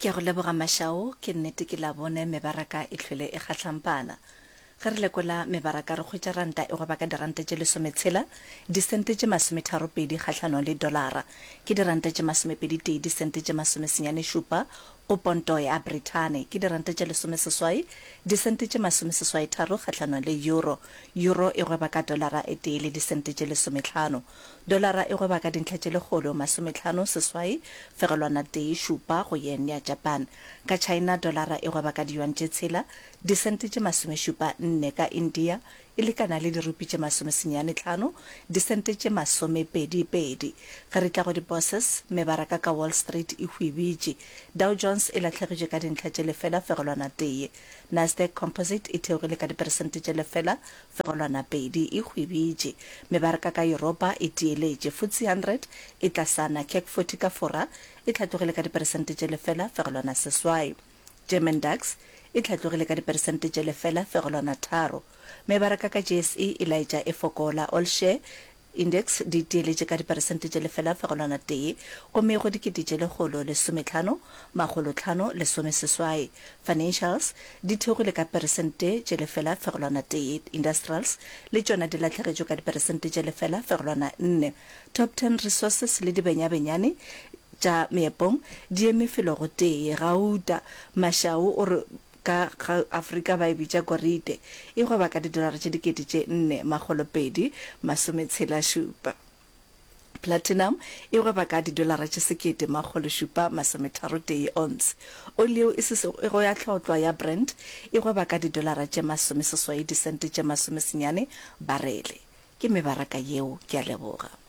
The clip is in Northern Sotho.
Ke a go leboga Mashao, ke nnete ke Labone mebaraka e hlwele e kgahlampana. Ge re lekola mebaraka re hwetša ranta e gweba ka diranta tše lesometshela, disente tše masometharopedi kgahlanong le dolara. Ke diranta tše masomepeditee, disente tše masomesenyanešupa go ponto ya Brithani. Ke diranta tše lesomeseswai, disente tše masomeseswaitharo kgahlanong le euro. Euro e gweba ka dolara e tee le disente tše lesometlhano. Dolara e gweba ka dintlha tše lekgolo masometlhano seswai fegelwana tee šupa go yen ya Japan. Ka China dolara e gweba ka diyuan tše tshela disente tše masomešupa nne, ka India e lekana le dirupi tše masomesenyane tlhano disente tše masomepedi pedi. Ge re tla go di-bourses, mebaraka ka Wall Street e hwibitše. Dow Jones e lahlegetšwe ka dintlha tše lefela fegelwana tee. Nasdaq Composite e theogile ka diperesente tše lefela fegelwana pedi, e hwibitše. Mebaraka ka Yuropa e tieletše. FTSE 100 e tlasana. CAC 40 ka Fora e hlatlogile ka diperesente tše lefela fegelwana seswai. German DAX e hlatlogile ka diperesente tše lefela fegelwana tharo. Mebaraka ka JSE e laetša e fokola. All Share Index di tieletše ka diperesente tše lefela fegelwana tee gomme go dikete tše lekgolo lesometlhano makgolo tlhano lesomeseswai. Financials di theogile ka peresente tše lefela fegelwana tee. Industrials le tšona di lahlegetšwe ka diperesente tše lefela fegelwana nne. Top Ten Resources le dibenyabenyane tša meepong di eme felo go tee. Gauta, Mashau o re Ka ga Afrika ba e bitša korite. E gweba ka didolara tše dikete tše nne makgolo pedi masometshela šupa. Platinum e gweba ka didolara tše sekete makgolo šupa masometharo tee ounce. Oli yeo e sesego ya hlotlwa ya Brent e gweba ka didolara tše masomeseswai disente tše masomesenyane barele. Ke mebaraka yeo. Ke a leboga.